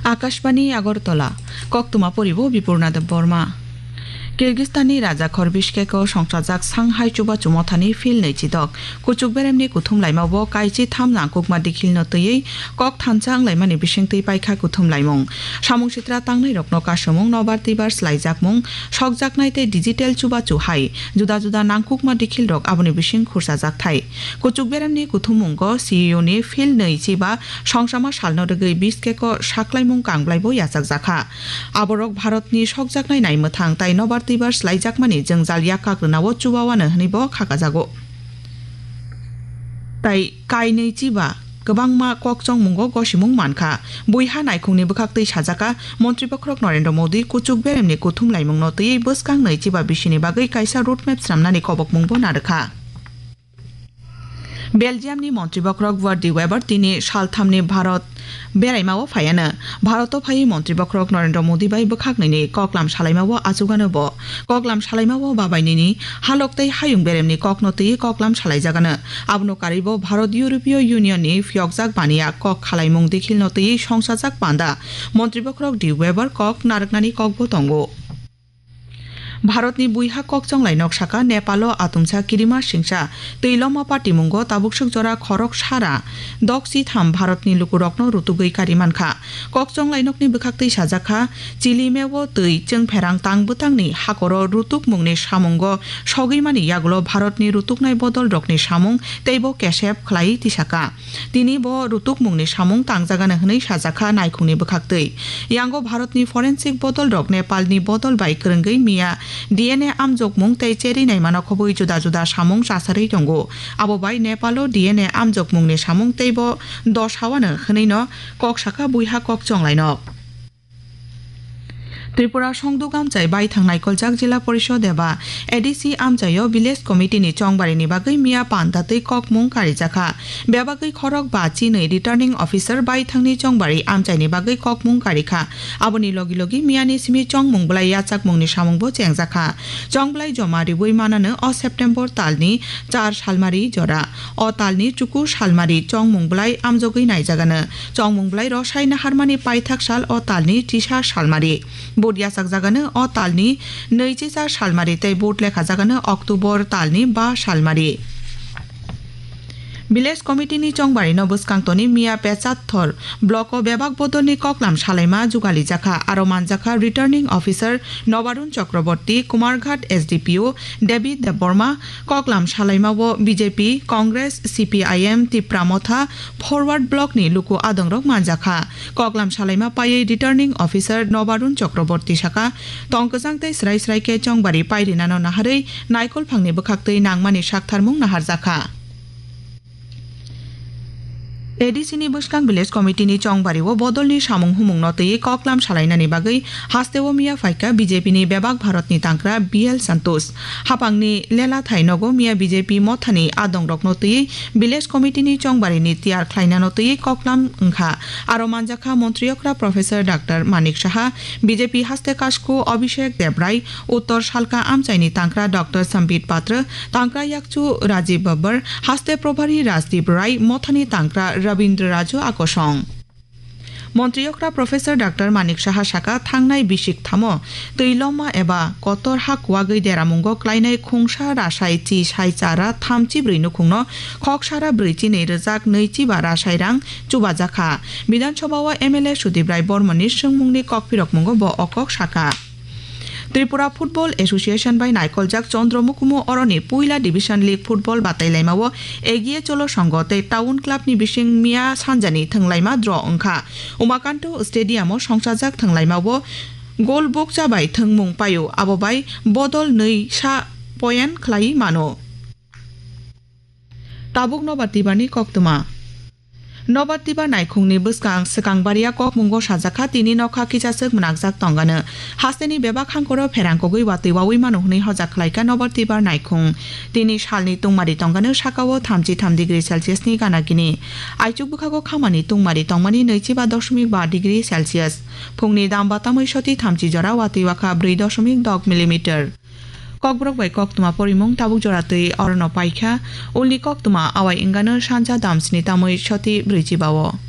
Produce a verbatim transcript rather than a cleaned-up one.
Akashbani Agartala, koktwma poribo Bipurna Debbarma. Kyrgyzstanni rajakhor Bishkeko songchajak Shanghai Chubachu Mothani Phil nwi chidok, kuchuk beremni kuthum laimao kaichi tham nangkukma dikhilno twiwi kok thansa wnglaimani bisingtwi paikha kuthum laimung. Samung sitra tangnairokno kasumung, nobar twibar slaijakmung, sokjaknai tei digital chubachu hai juda juda nangkukma dikhilrok aboni bising khurchajak thai. Kuchuk beremni kuthumungo C E O ni Phil nwi chiba songchama salno rwgwi Bishkeko saklaimung kangblaibo yachakjakha. Aborok Bharatni sokjaknai naimwthang tai nobar twibar slaijakmani jwngjal yakkak rwnao chubawano hwnwibo khakajago. Tai kainwi chiba kwbangma kokchongmungo gosimung mankha. Buiha naikhungni bwkhaktwi sajaka, Montri Bokhorok Narendra Modi kuchuk beremni kuthum laimungno twiwi bwskang nwi chiba bisini bagwi kaisa roadmap swnamnani kobokmungbo narwkha. Belgiumni Montri Bokhorok Werdy Weber tini salthamni Bharat beraimao phaiano. Bharato phaiwi Montri Bokhorok Narendra Modi bai bwkhak nini koklam salaimao achugano bo. Koklam salaimao babai nini halok tei hayung beremni kokno twiwi koklam salaijagano. Abono karwibo Bharat European Union ni phiyokjak baniya kok khalaimung dikhilno twiwi songchajak panda Montri Bokhorok D Weber kok narwknani kokbo tongo. Bharatni buiha kokchonglai nok saka Nepalo atumsa kirima singsa twi loma patimungo tabuksuk jora khorok sara doksi tham Bharatni lukurokno rutugwi kari mankha. Kokchonglai nokni bwkhaktwi sajakha, Chilimeo twi chwngpherang tang bwtangni hakoro rutukmungni samungo sogwimani yagulo Bharatni rutuknai bodolrokni samung teibo kesep khlaiwi tisaka. Tini bo rutukmungni samung tangjagano hwnwi sajakha naikhungni bwkhaktwi. Yango Bharatni forensic bodolrok Nepalni bodol bai kwrwngwi miya D N A amjokmung tei cherwi naimano khobwi juda juda samung chasarwi tongo. Abo bai Nepalo D N A amjokmungni samung teibo dos hawano hwnwino kok saka buiha kokchonglainok. Tripura Songduk Amchai baithang naikoljak Jila Porishod eba A D C amchaio Village Committee ni chongbarini bagwi miya panda twi kokmung karijakha. Bebagwi khorok ba chinwi Returning Officer baithangni chongbari amchaini bagwi kokmung karikha. Aboni logi logi miyani simi chongmung bwlai yachakmungni samungbo chengjakha. Chongbwlai joma riwi manano o September talni char salmari jora. O talni chuku salmari chongmung bwlai amjogwi naijagano. Chongmung bwlai rosai naharmani paithak sal o talni chisa salmari. Vote yachakjagano o talni nwichisa salmari tei vote lekhajagano October talni ba salmari. Village Committee ni chongbarino bwskang toni miya Pechatthor block o bebak bodolni koklam salaima jugalijakha, aro manjakha Returning Officer Nobarun Chakraborty, Kumarghat S D P O David Debbarma, koklam salaimao B J P, Congress, C P I M, Tipra Motha, Forward Block ni luku adongrok manjakha. Koklam salaima paiwi Returning Officer Nobarun Chakraborty saka, tong kwchang tei srai srai khe chongbari pairinano naharwi naikolphangni bwkhaktwi nangmani saktharmung naharjakha. A D C ni bwskang Village Committee ni chongbario bodolni samung humungno twiwi koklam salainani bagwi hasteo miya phaikha B J P ni bebak Bharatni tangkra B L Santosh. Hapangni lela thai nogo miya B J P mothani adongrokno twiwi Village Committee ni chongbarini tiyar khlainano twiwi koklam wngkha. Aro manjakha Montri okra Professor Doctor Manik Saha, B J P haste kasku Abhishek Debrai, Uttor Salka amchaini tangkra Doctor Sambit Patra, tangkra yakchu Rajiv Babbar, haste Probhari Rajdeep Rai, mothani tangkra Rabindra Raju akosong. Montri okra Professor Doctor Manik Saha saka thangnai bisik thamo twi loma eba kotor ha kuwagwi deramungo klainai khungsa rasai chi sai chara thamchi brwi nukhungno khoksara brwi chinwi rwjak nwi chiba rasai rang chubajakha. Bidhan Sabha o M L A Sudip Rai Bormoni swngmungni kokpirokmungo bo o kok saka. Tripura Football Association bai naikoljak Chandra Mukumu oroni puila Division League Football batailaimao Egiye Cholo Songho tei Town Club ni bising miya sanjani thwnglaima draw wngkha. Umakanto Stadium o songchajak thwnglaimao goal bukcha bai thwngmung paio, abo bai bodol nwi sa point khlai mano. Tabuk Nobar Twibarni koktwma. Nobar Twibar naikhungni bwskang swkang baria kokmungo sajakha, tini nokha kichaswk mwnakjak tongano. Hasteni bebak hangkoro pherang kogwi watwi wawi mano hwnwi hojak khlaikha Nobar Twibar naikhung. Tini salni tungmari tongano sakao thamchi tham degree Celsius ni gana gini. Aichuk bwkhago khamani tungmari tongmani nwichiba doshomik ba degree Celsius. Phungni damba tamwi soti thamchi jora watwi wakha brwi doshomik dok millimeter. Kokborok bai koktwma porimung tabuk jora twi orono paikha. Ulni koktwma awai wngano sanja damsni tamwi soti brwichi bao.